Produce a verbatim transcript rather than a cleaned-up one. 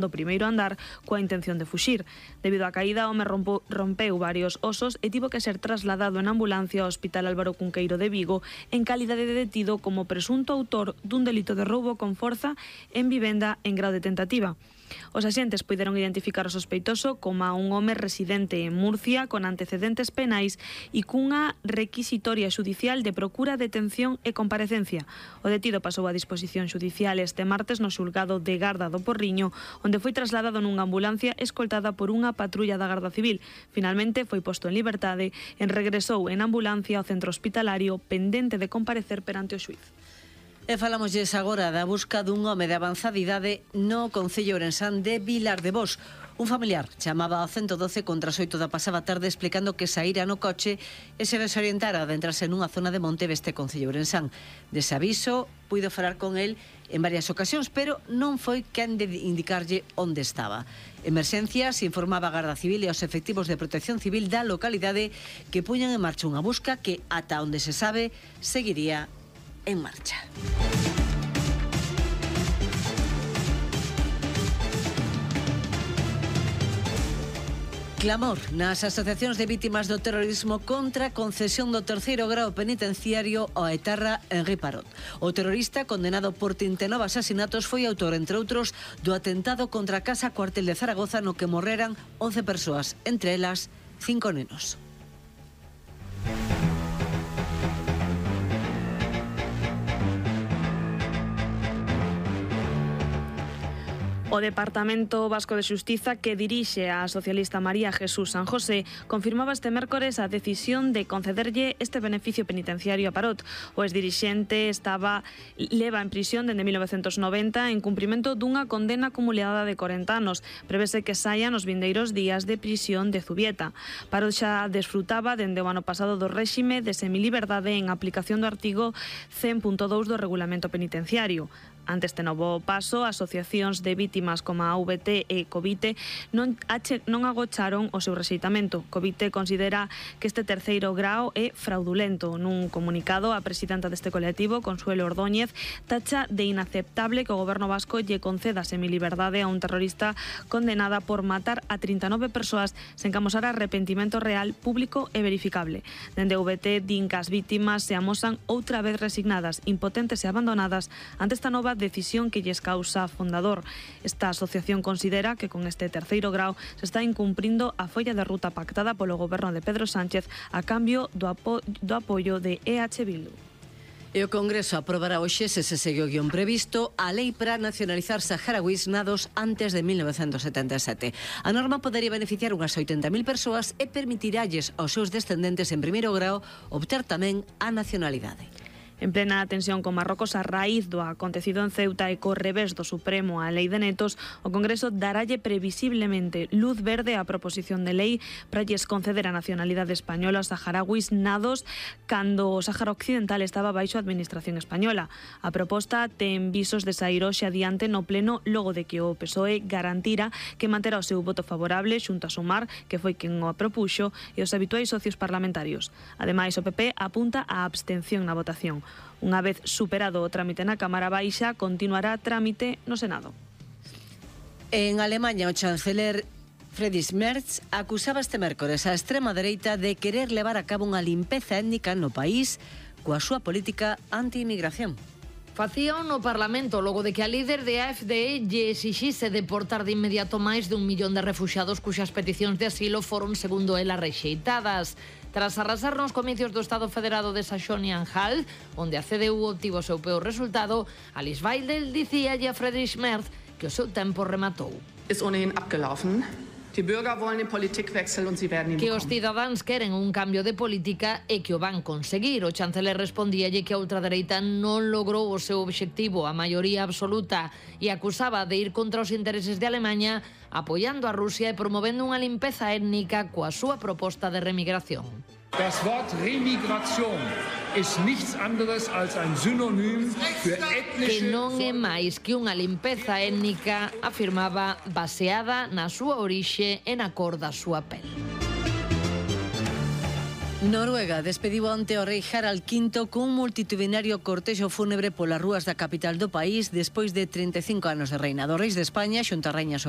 do primeiro andar coa intención de fuxir. Debido á caída, o home rompo, rompeu varios osos e tivo que ser trasladado en ambulancia ao Hospital Álvaro Cunqueiro de Vigo en calidade de detido como presunto autor dun delito de roubo con forza en vivenda en grau de tentativa. Os axentes puideron identificar o sospeitoso como a un home residente en Murcia con antecedentes penais e cunha requisitoria xudicial de procura, detención e comparecencia. O detido pasou a disposición xudicial este martes no xulgado de Garda do Porriño, onde foi trasladado nunha ambulancia escoltada por unha patrulla da Garda Civil. Finalmente foi posto en liberdade e regresou en ambulancia ao centro hospitalario pendente de comparecer perante o xuíz. E falámoslles agora da busca dun home de avanzada idade no concello ourensán de Vilar de Bos. Un familiar chamaba ao ciento doce contra as oito da pasada tarde explicando que saíra no coche e se desorientara de entrarse nunha zona de monte deste concello ourensán. Dese aviso, puido falar con el en varias ocasións, pero non foi quen de indicarlle onde estaba. Emerxencias informaba a Garda Civil e os efectivos de protección civil da localidade que puñan en marcha unha busca que, ata onde se sabe, seguiría en marcha. Clamor nas asociacións de vítimas do terrorismo contra a concesión do terceiro grao penitenciario ao etarra Henri Parot. O terrorista, condenado por trinta e nove asasinatos, foi autor, entre outros, do atentado contra a Casa Cuartel de Zaragoza no que morreran once persoas, entre elas cinco nenos. O Departamento Vasco de Xustiza, que dirixe a socialista María Jesús San José, confirmaba este mércores a decisión de concederlle este beneficio penitenciario a Parot. O exdirixente estaba leva en prisión dende mil novecentos noventa en cumprimento dunha condena acumulada de corenta anos. Prevese que saia nos vindeiros días de prisión de Zubieta. Parot xa desfrutaba dende o ano pasado do réxime de semiliberdade en aplicación do artigo cen punto dous do Regulamento Penitenciario. Ante este novo paso, asociacións de vítimas como a V T e Covite non, ache, non agocharon o seu rexeitamento. Covite considera que este terceiro grao é fraudulento. Nun comunicado, a presidenta deste colectivo, Consuelo Ordóñez, tacha de inaceptable que o goberno vasco lle conceda semiliberdade a un terrorista condenada por matar a trinta e nove persoas sen que amosar arrepentimento real, público e verificable. Dende V T din que as vítimas se amosan outra vez resignadas, impotentes e abandonadas ante esta nova decisión que lles causa fundador. Esta asociación considera que con este terceiro grao se está incumprindo a folla de ruta pactada polo goberno de Pedro Sánchez a cambio do, apo do apoio de E H Bildu. E o Congreso aprobará hoxe, se se segue o guión previsto, a lei para nacionalizar saharauis nados antes de mil novecentos setenta e sete. A norma podería beneficiar unhas oitenta mil persoas e permitiralles aos seus descendentes en primeiro grao obter tamén a nacionalidade. En plena tensión con Marrocos a raíz do acontecido en Ceuta e co revés do Supremo á lei de netos, o Congreso daralle previsiblemente luz verde á proposición de lei para lles conceder a nacionalidade española aos saharauis nados cando o Sáhara Occidental estaba baixo a administración española. A proposta ten visos de saír hoxe adiante no pleno logo de que o P S O E garantira que manterá o seu voto favorable xunto a Sumar, que foi quen o apropuxo, e os habituais socios parlamentarios. Ademais, o P P apunta á abstención na votación. Unha vez superado o trámite na Cámara Baixa, continuará trámite no Senado. En Alemanha, o chanceler Friedrich Merz acusaba este mércores a extrema dereita de querer levar a cabo unha limpeza étnica no país coa súa política anti-inmigración. Facía no Parlamento logo de que a líder de A F D lle exixise deportar de inmediato máis de un millón de refuxiados cuxas peticións de asilo foron, segundo ela, rexeitadas. Tras arrasar nos comicios do Estado Federado de Saxonia-Anhalt, onde a C D U obtivo o seu peor resultado, Alice Weidel dicíalle a Friedrich Merz que o seu tempo rematou. Ist ohnehin abgelaufen. Die Bürger wollen den Politikwechsel und sie werden ihn que os bekommen. cidadáns queren un cambio de política e que o van conseguir. O chanceler respondíalle que a ultradereita non logrou o seu obxectivo, a maioría absoluta, e acusaba de ir contra os intereses de Alemanha, apoiando a Rusia e promovendo unha limpeza étnica coa súa proposta de remigración. Das Wort Remigration ist nichts anderes als ein Synonym für Que ethnische... non é máis que unha limpeza étnica, afirmaba, baseada na súa orixe e na cor da súa pel. Noruega despediu ante o rei Harald quinto cun multitudinario cortexo fúnebre polas rúas da capital do país despois de trinta e cinco anos de reinado. Reis de España, xunto a Rainha Sofía